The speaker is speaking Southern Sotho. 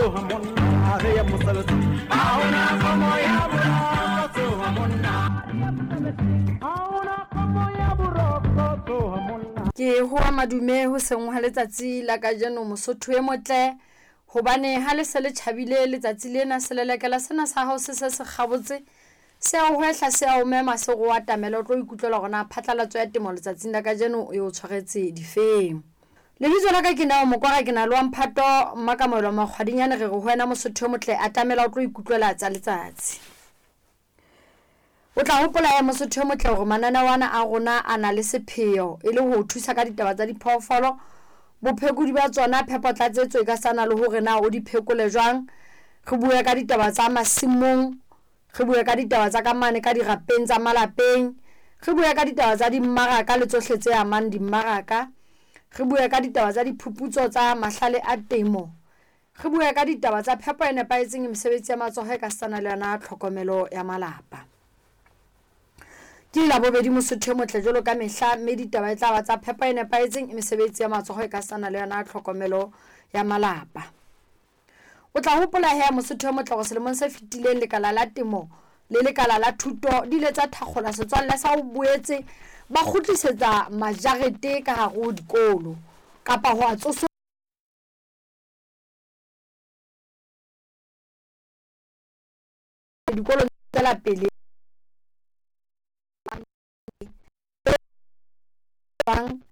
Ke hoa madume ho seng hwa letsatsi la kajeno Mosotho e motle hobane ha le se le tjhabile letsatsi lena selelekela sena sa hao se se se kgabotse se a o hwehla se a o mema se go atamela o tlo ikutlwela gore na phatlalatso ya temo letsatsing la kajeno e o tshwaretse difeng. Lebitso la ka ke Neo Mokwara, ke na le wa mphato Mmakamoelo Makgwadinyane, re re ho wena Mosotho yo motle, atamela o tlo ikutlwela tsa letsatsi. O tla hopola ya Mosotho yo motle hore mananeo ana a rona a na le sepheo e le ho o thusa ka ditaba tsa diphoofolo, bophekodi ba tsona, phepotlatsetso e ka sana le hore na o di phekole jwang. Re bue ka ditaba tsa masimong, Re bue ka ditaba tsa ka mane ka dirapeng tsa malapeng. Re bue ka ditaba tsa dimmaraka le tsohle tse amang dimmaraka. Re bue ka ditaba tsa diphuputso tsa mahlale a temo. Re bue ka ditaba tsa phepo e nepahetseng, mesebetsi ya matsoho e ka setsana le yona tlhokomelo ya malapa. Ke Labobedi Mosotho e motle jwalo ka mehla mme ditaba e tla ba tsa phepo e nepahetseng, mesebetsi ya matsoho e ka setsana le yona tlhokomelo ya malapa. O tla hopola he Mosotho yo motle gore selemong se fetileng lekala la temo le lekala la thuto di ile tsa thakgola setswalle sa ho boetse ba kgutlisetsa majarete ka hare ho dikolo kapa ho a tsoso dikolong tswela pele bang.